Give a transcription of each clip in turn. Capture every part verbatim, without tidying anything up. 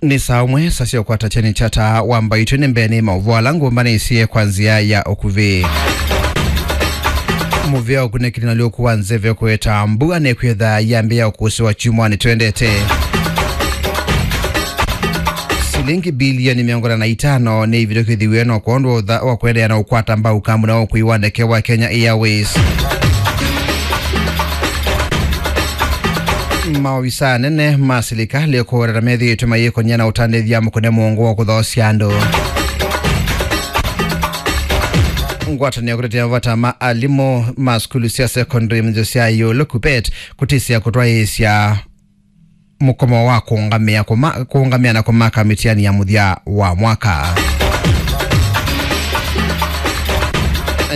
Nĩ saa ũmwe, saa sya ũkwata kyeni kya taa wa mbaitũ. Nĩ mbee nĩ maũvoo ala ngũmbanĩsye kwa nzĩa ya ũkuvĩ. Mũvĩa ũkunĩkĩli na ũalyũku wa nzeve kũete mbua nĩkwĩtha yambĩĩa ũkũsĩwa kyumwanĩ twendete. Silingi bilioni mĩongo ĩna na itano nĩ ivĩtũkĩthiw'e no kwondũ wa ũtha-, wa kũendeea na ũkwata mbau kambuni wa ũkui wa ndeke wa Kenya Airways. Maovisaa anene ma silikalĩ kũweta methĩĩtwe mayĩkony'a na ũtandĩthya mũkũne mũongo wa kũthoosya andũ. Ngwatanĩo kũtetea mavata ma alimũ ma sukulu sya secondary mĩthyo sya ĩũlũ, KUPPET, kũtĩsya kũtwaĩĩsya mũkomo wa kũũngamĩa kũma-, kũũngamĩa na kũmaka mĩtiani ya mũthya wa mwaka.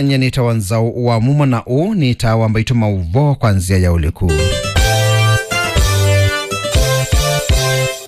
Nyie nĩtawa Nzaũ wa Mumo na ũũ nĩ taa wa mbaitũ maũvoo kwa nzĩa ya ũliku.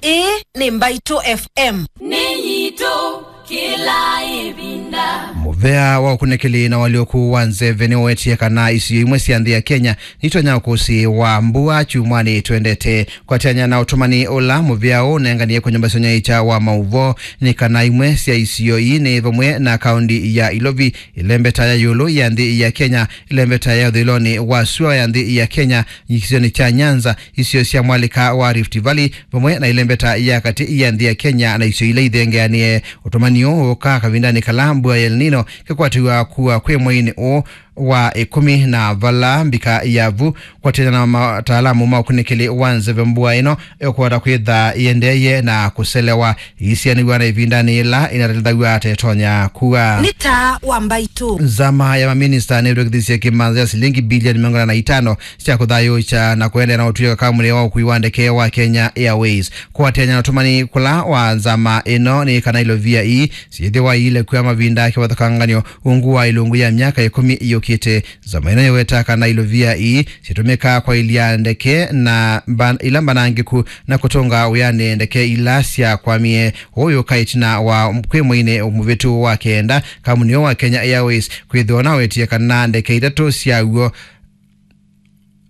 Ĩĩ nĩ Mbaitũ F M. Nĩ yitũ kĩla ĩvinda. Mũvea wa ũkunĩkĩli na ũalyũku wa nzeve nĩwetie kana isio imwe sya nthĩ ya Kenya nitonya ũkũsĩ wa mbua kyumwanĩ twendete. Kwatany'a na ũtũmani ũla mũvea ũũ ũnenganie kwa nyũmba sya ũnyaĩĩkya wa maũvoo, nĩ kana imwe sya isio ii nĩ vamwe na kaũndi ya Ilovi, ĩlembeta ya ĩũlũ ya nthĩ ya Kenya, ĩlembeta ya ũthũĩlonĩ wa sua ya nthĩ ya Kenya, kĩsionĩ kya Nyanza, isio sya mwalĩka wa Rift Valley, vamwe na ĩlembeta ya katĩ ya nthĩ ya Kenya na isio ila ithengeanĩe. Ũtũmani ũũ ũũkaa kavindanĩ kala mbua ya El Nino kĩkwatĩw'a kua kwĩ mweinĩ ũũ wa ĩkũmi na vala mbika ya vu, kwatĩana na mataalamu ma ũkunĩkĩli wa nzeve, mbua ĩno ĩkũvota kwĩtha ĩendeeye na kũselewa, ĩisianĩw'a na ĩvindanĩ yĩla ĩnatĩlĩthaw'a ta ĩtonya kua. Nĩ taa wa mbaitũ. Nzama ya maminista nĩvĩtũkĩthisye kĩmanza kya silingi bilioni mĩongo ĩna na itano sya kũthayũũkya na kũendeea na ũtw'ĩka kambuni wa ũkui wa ndeke wa Kenya Airways. Kũatĩanĩa na ũtũmani kũla wa nzama ĩno nĩ kana ilovia ii syĩthĩwa iilekwa mavinda kĩvathũkangany'o ungu wa ilungu ya myaka ĩkũmi yũkĩte. Nzama ĩno yĩwetaa kana ilovia ii syĩtũmĩkaa kwaĩlya ndeke na mba-, ila mbanangĩku na kũtũnga wĩanĩ ndeke ila syakwamie. Ũũ yũka ĩtina wa kwĩ mweinĩ mũvĩtu wa kenda, kambuni ũũ wa Kenya Airways kwĩthĩwa ũnawetie kana ndeke itatũ syaw'o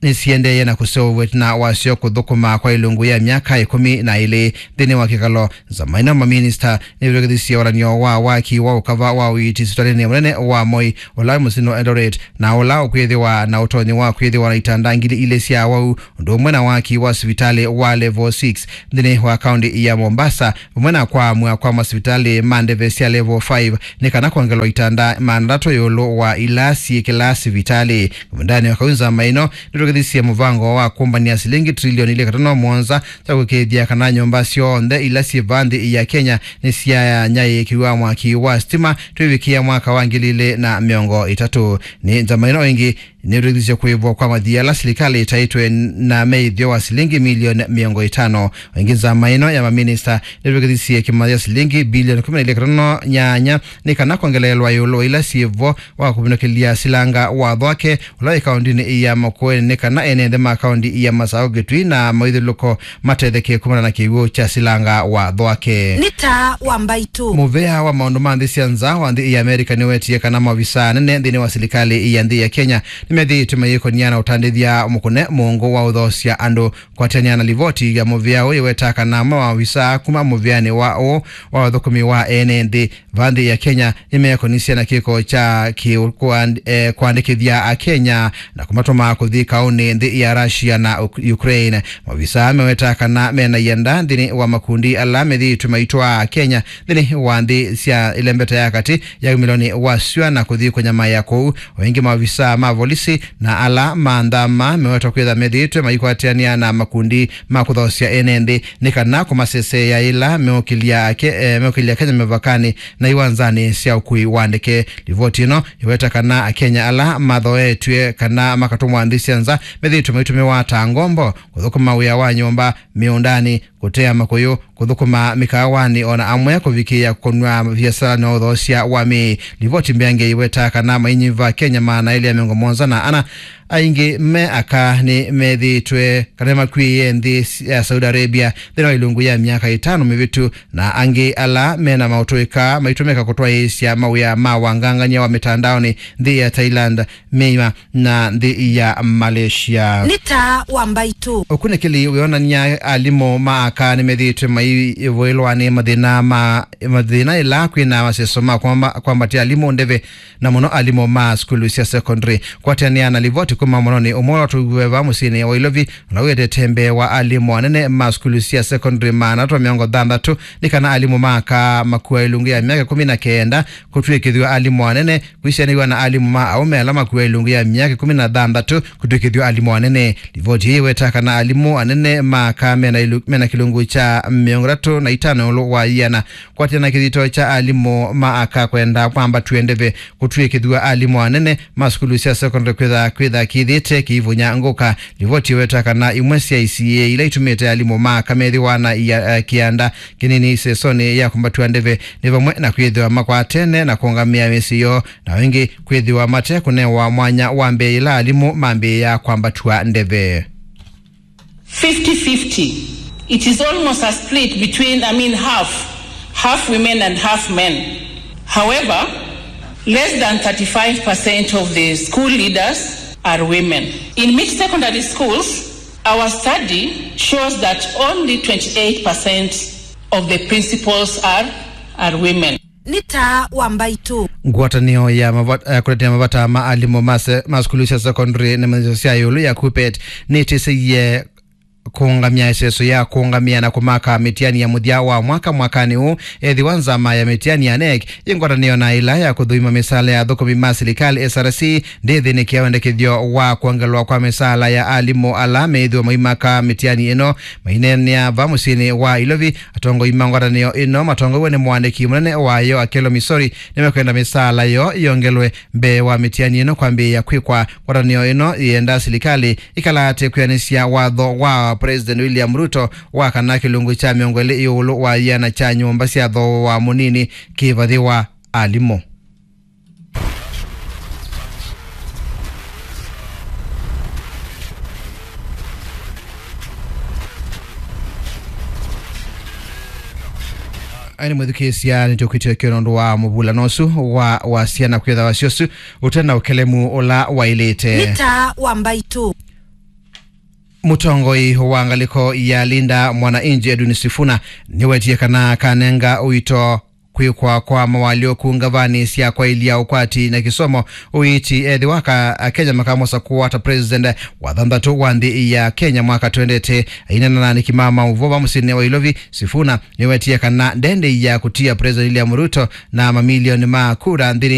nĩsiendeeye na kũseũvw'a ĩtina wasyo kũthũkũma kwa ilungu ya myaka ĩkũmi na ĩlĩ nthĩnĩ wa kĩkalo. Nzama ĩno maminista nĩvĩtũkĩthisye ũalan'yo wa waki wa ũkava wa ũiiti sivitalĩnĩ mũnene wa Moi, ũla wĩ mũsyĩnĩ wa Eldoret, na ũla ũkwĩthĩwa na ũtonyi wa kwĩthĩwa na itanda ngili ilĩ sya awau, ũndũ ũmwe na waki wa sivitalĩ wa level six nthĩnĩ wa kaũnti ya Mombasa, vamwe na kwaamw'a kwa masivitalĩ ma ndeve sya level five nĩ kana kwongelwa itanda maana atatũ ĩũlũ wa ila syĩ kĩla sivitalĩ. Kavindanĩ o kau, nzama ĩno nĩtũkĩthisye mũvango wa kũmbany'a silingi trilioni ilĩ katono mũonza sya kũĩkĩĩthya kana nyũmba syonthe ila syĩ vaa nthĩ ya Kenya nĩsyanyaĩĩkĩw'a mwaki wa sitima twĩvikĩa mwaka wa ngili ilĩ na mĩongo ĩtatũ. Nĩ nzama ĩno ĩngĩ nĩtũkĩthisye kũĩvwa kwa mathii ala silikalĩ ĩtaĩtwe na meĩthyo wa silingi milioni mĩongo ĩtano. Ĩngĩ, nzama ĩno ya maminista nĩtũkĩthisye kĩmanza kya silingi bilioni kũmi na ilĩ katono nyanya nĩ kana kwongeleelwa ĩũlũ wa ila syĩ vo wa kũvinũkĩlya silanga wa Thwake, ũla wĩ kaũndinĩ ya Makueni, nĩ kana ene nthĩ ma kaũndi ya Masaũ, Kitui na maithyũlũlũko matetheke kumana na kĩw'ũ kya silanga wa Thwake. Nĩ taa wa mbaitũ. Mũvea wa maũndũ ma nthĩ sya nza wa nthĩ ya Amerika nĩwetie kana maovisaa anene nthĩnĩ wa silikalĩ ya nthĩ ya Kenya nĩmethĩĩtwe mayĩkony'a na ũtandĩthya mũkũne mũongo wa ũthoosya andũ. Kwatĩanĩa na livoti ya mũvĩa ũũ yĩwetaa kana amwe maovisaa kuma mũvĩanĩ wa ũũ wa ũthũkũmi wa ene nthĩ vaa nthĩ ya Kenya nĩmeekonisye na kĩko kya kĩ-, kũand-, eh, kũandĩkĩthya Akenya na kũmatũma kũthi kaũnĩ nthĩ ya Russia na Uk-, Ukraine. Maovisaa mewetaa kana mena ianda nthĩnĩ wa makundi ala methĩĩtwe maitwaa Akenya nthĩnĩ wa nthĩ sya ĩlembeta ya katĩ ya wumĩlonĩ wa syũa na kũthi kũnyamaĩa kũu. O ĩngĩ, maovisaa ma volisi na ala ma nthama mewetwa kwĩtha methĩĩtwe maikwatĩanĩa na makundi ma kũthoosya ene nthĩ nĩ kana kũmaseseea yĩla meũkĩlya ake, eh, meũkĩlya Kenya mĩvakanĩ na iwanzanĩ sya ũkui wa ndeke. Livoti ĩno yĩweta kana Akenya ala mathoetw'e kana makatũmwa nthĩ sya nza methĩĩtwe maitũmĩwa ta ngombo, kũthũkũma wĩa wa nyũmba, mĩũndanĩ, kũtea makũyũ, kũthũkũma mĩkaawanĩ, o na amwe kũvikĩĩa kũnw'a viasala na ũthoosya wa mĩĩ. Livoti mbeange yĩwetaa kana mainyiva Akenya maana elĩ ya mĩongo mũonza na ana aingĩ me aka nĩmethĩĩtwe kana nĩmakuĩe nthĩ ya Saudi Arabia nthĩnĩ wa ilungu ya myaka ĩtano mĩvĩtu, na angĩ ala mena maũtũĩka maitũmĩka kũtwaĩĩsya mawĩa ma wangangany'a wa mĩtandaonĩ nthĩ ya Thailand, Myanmar, na nthĩ ya Malaysia. Nĩ taa wa mbaitũ. Ũkunĩkĩli wĩonany'a alimũ ma aka nĩmethĩĩtwe maivũĩlwa nĩ mathĩna ma, mathĩna ĩla kwĩna maseso ma kwamba-, kwambatya alimũ ndeve, na mũno alimũ ma sukulu sya secondary. Kwatĩanĩa na livoti kuma mũnonĩ ũmwe ũla twĩw'e va mũsyĩnĩ wa Ilovi, ũla wĩetete mbee wa alimũ anene ma sukulu sya secondary maana atatu mĩongo thanthatũ, nĩ kana alimũ ma aka makua ilungu ya myaka ĩkũmi na kenda kũtw'ĩkĩthw'a alimũ anene, kwĩsĩanĩw'a na alimũ ma aũme ala makua ilungu ya myaka ĩkũmi na thanthatũ kũtw'ĩkĩthw'a alimũ anene. Livoti ĩĩ ĩweta kana alimũ anene ma aka mena ilu-, mena kĩlungu kya mĩongo ĩtatũ na itano ĩũlũ wa ĩana. Kwatĩana na kĩthito kya alimũ ma aka kwenda kwambatw'e ndeve kũtw'ĩkĩthw'a alimũ anene ma sukulu sya secondary kwĩtha, kwĩtha kĩthĩte kĩivunya ngũka. Livoti ĩweta kana imwe sya isiĩĩ ila itumĩte alimũ ma aka methĩwa na ia-, eh, kĩanda kĩnini isesonĩ ya kwambatw'a ndeve nĩ vamwe na kwĩthĩwa makwatene na kũũngamĩa mĩsyĩ yoo, na ĩngĩ kwĩthĩwa mate kũnewa mwanya wa mbee yĩla alimũ mambĩĩa kwambatw'a ndeve. Fifty fifty. It is almost a split between, I mean, half, half women and half men. However, less than thirty-five percent of the school leaders are women. In mixed secondary schools, our study shows that only twenty-eight percent of the principals are, are women. Nĩ taa wa mbaitũ. Ngwatanĩo ya mava-, eh, kũtetea mavata ma alimũ ma se-, ma sukulu sya secondary na mĩthyo sya ĩũlũ ya KUPPET nĩtĩsĩie kũũngamya ĩseso ya kũũngamĩa na kũmaka mĩtiani ya mũthya wa mwaka mwakanĩ ũũ, ethĩwa nzama ya mĩtiani ya NEC yĩ ngwatanĩo na ĩla ya kũthũima mĩsaala ya athũkũmi ma silikalĩ, S R C, ndĩthĩnĩkĩa wendekethyo wa kwongelwa kwa mĩsaala ya alimũ ala meĩthĩwa maimaka mĩtiani ĩno. Maineenea va mũsyĩnĩ wa Ilovi, atongoi ma ngwatanĩo ĩno matongoew'e nĩ mũandĩki mũnene wayo Akello Misori nĩmekwenda mĩsaala yoo yongelwe mbee wa mĩtiani ĩno kwambĩĩa kwĩkwa. Ngwatanĩo ĩno yĩenda silikalĩ ĩkalaate kwĩanĩsya watho wa President William Ruto wa kana kĩlungu kya mĩongo ĩlĩ ĩũlũ wa ĩana kya nyũmba sya thooa mũnini kĩvathĩwa alimũ. Aĩ nĩ mwĩthukĩĩsya, nĩtũkwĩtĩkĩo nũndũ wa mũvulano ũsu wa, wa syana kwĩtha wasyo ũsu ũte na ũkelemu ũla waĩlĩte. Nĩ taa wa mbaitũ. Mũtongoi wa ngalĩko ya Linda Mwananchi Edwin Sifuna nĩwetie kana kanenga ũito kwĩkwa kwa mawalyũku ngavanĩ sya kwaĩlya ũkwati na kĩsomo ũiiti ethĩwa ka Akenya makamũsakũa ta president wa thanthatũ wa nthĩ ya Kenya mwaka twendete. Ainena na aandĩki ma maũvoo va mũsyĩnĩ wa Ilovi, Sifuna nĩwetie kana ndendeea kũtia President William Ruto na mamilioni ma kura nthĩnĩ